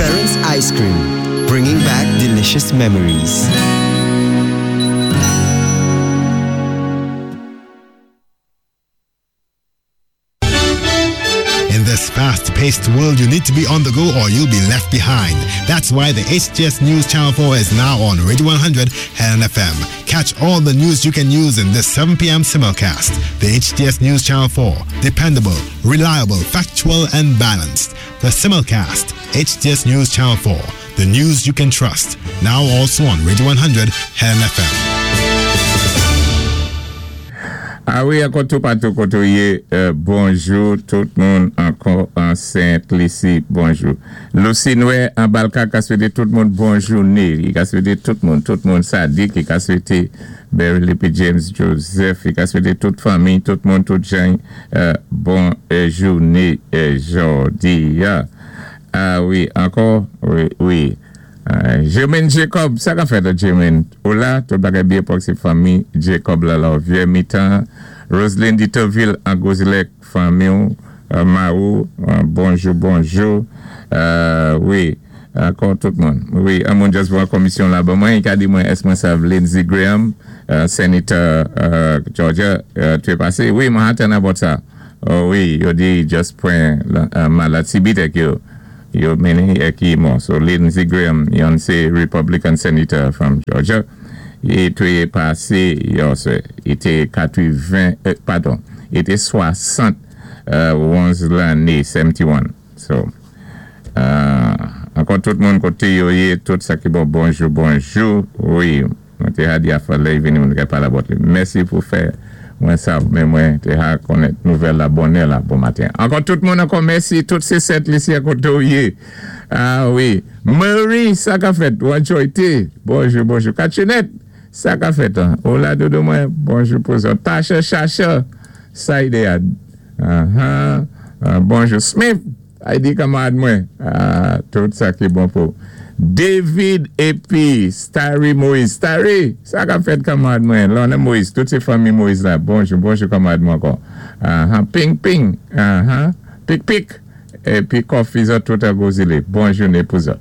Ference Ice Cream, bringing back delicious memories. In this fast-paced world, you need to be on the go or you'll be left behind. That's why the HTS News Channel 4 is now on Radio 100 Helen FM. Catch all the news you can use in this 7 p.m. simulcast. The HTS News Channel 4. Dependable, reliable, factual, and balanced. The simulcast. HTS News Channel 4. The news you can trust. Now also on Radio 100 Helen FM. A wi, ankò toupatou koté ou yé, bonjou tout moun ankò an Sent Lisi, bonjou. Lucy Nwè an Balka ka swété tout moun bon jouné, li ka swété tout moun, tout moun Sadik, li ka swété Beverly pi James Joseph, li ka swété tout fanmi, tout moun, tout jan bon jouné jòdi a. A wi, ankò, wi, wi. Germaine Jacob, sa ka fèt Germaine? Ou la? Tout bagay byen pòk sé fanmi Jacob la Lòvyè mitan Roseline Ditoville an Gwozilèk fanmi w Marou bonjou bonjou wi ankò tout moun wi an moun just voye komisyon la ban mwen li ka di mwen èske mwen sav Lindsey Graham senator Georgia te pase wi mwen atann about sa wi yo di just pwen malad sibit èk yo Yo mennen yè ki mò. So Lindsey Graham, yon sé Republican senator from Georgia, i té pasé yòswè. I té 80, padon, i té 71 lanné, 71. So, ankò tout moun koté yo yé, tout sa ki bon, bonjou, bonjou. Wi. Mwen té ha di afè lè y vini mwen te ka palé about li. Mèsi pou fè mwen sav men mwen té ha konnèt nouvèl la bonè la bon maten. Ankò tout moun ankò mèsi tout sé Sent Lisi a koté ou yé. Ah wi Murray sa ka fèt ou enjoy té bonjou bonjou Katchenèt sa ka fèt an ou la doudou mwen bonjou pou zòt Tasha Chacha sa y dé a ahan bonjou Smith. Aydi kanmarad mwen ah tout sa ki bon pou David epi Starry Moise Starry sa kap fèt kanmarad mwen Lorna Moise tout se fanmi Moise la bonjou bonjou kanmarad mwen ankò ahan ping ping ahan pik pik epi kòfi zòt tout an gwo zile bon joune pou zòt.